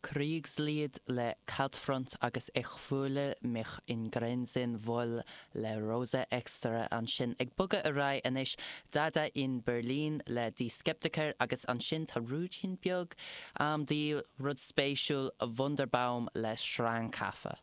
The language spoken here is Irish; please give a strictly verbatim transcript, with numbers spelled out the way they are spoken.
Kriegslied le Kaltfront agus Ich fühle mich in Grenzen wohl le Rosa Extra ansin ag bogadh ar aghaidh anois Dada in Berlin le Die Skeptiker agus ansin tá ruainnín beag am dí rud spéisiúil Wunderbaum le Schrankaffe.